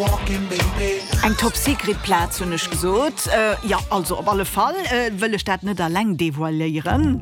Eng Top Secret Plaz hunn ech gesot. Jo, also op alle Fall wëll ech dat net alleng devoiléieren.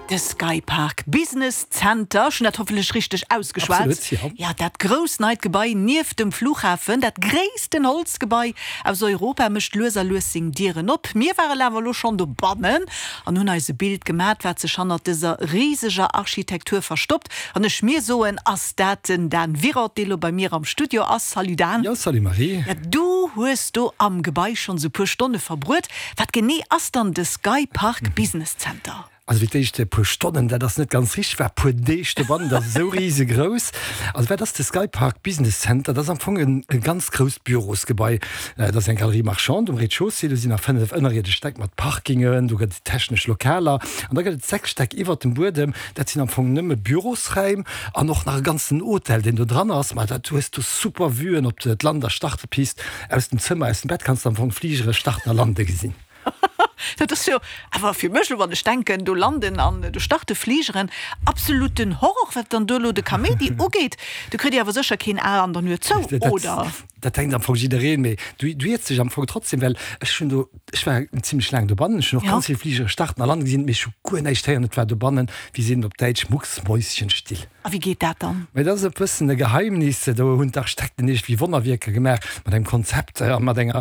De Skypark Business Center, ech hunn dat hoffentlech richteg ausgeschwat. Absolut, jo. Jo, dat grousst neit Gebai nieft dem Flughafen, dat gréissten Holzgebai aus Europa, mécht lues a lues seng Dieren op. Mir waren awer elo schonn dobannen an hunn eis e Bild gemat, wat sech hannert dëser riseger Architektur verstoppt. An ech mir soen, ass dat den Dan Wiroth, dee lo bei mir am Studio ass. Salut Dan. Jo, salut Marie. Ja, du hues do am Gebai schonns e puer Stonne verbruet. Wat genee ass dann de Skypark Business Center? Also fir d'éischt e puer Stonnen, dat ass net ganz richteg, war e puer Deeg dobannen, dat ass esou risegrouss. Also wat ass de Skypark Business Center? Dat ass am Fong en e ganz grousst Bürosgebai. Dat ass eng Galerie marchande um Rez-de-chaussée, do sinn nach 5 ënnerierdesch Stäck mat Parkingen, do gëtt et technesch Lokaler an da gëtt et 6 Stäck iwwert dem Buedem, dat sinn am Fong nëmme Bürosräim an och nach e ganzen Hotel, deen do dran ass. Ma dat, du hues do super Vuen op d'Land a Startepist. Aus dem Zëmmer, aus dem Bett kanns de am Fong Fligere starten a lande gesinn. Dat ass jo awer fir mech elo, wann ech denken, do landen an do starte Fligeren, absoluten Horror, wat dann do elo de Kaméidi ugeet. Do kritt Dir awer sécher keen A an der Nuet zou, oder? Dat denkt am Fong jiddereen, mee du iers dech am Fong trotzdem, well ech hunn do, ech war zimlech laang dobannen, ech hunn och ganz vill Fligere starten a landen gesinn, mee ech hu guer näischt héieren. Et war dobannen, wéi seet een op Däitsch, mucksmäuschenstill. A wéi geet dat dann? Mee dat ass e bëssen e Geheimnis. Do hunn d'Architekten iergendwéi Wonnerwierker gemaach mat engem Konzept a mat enger.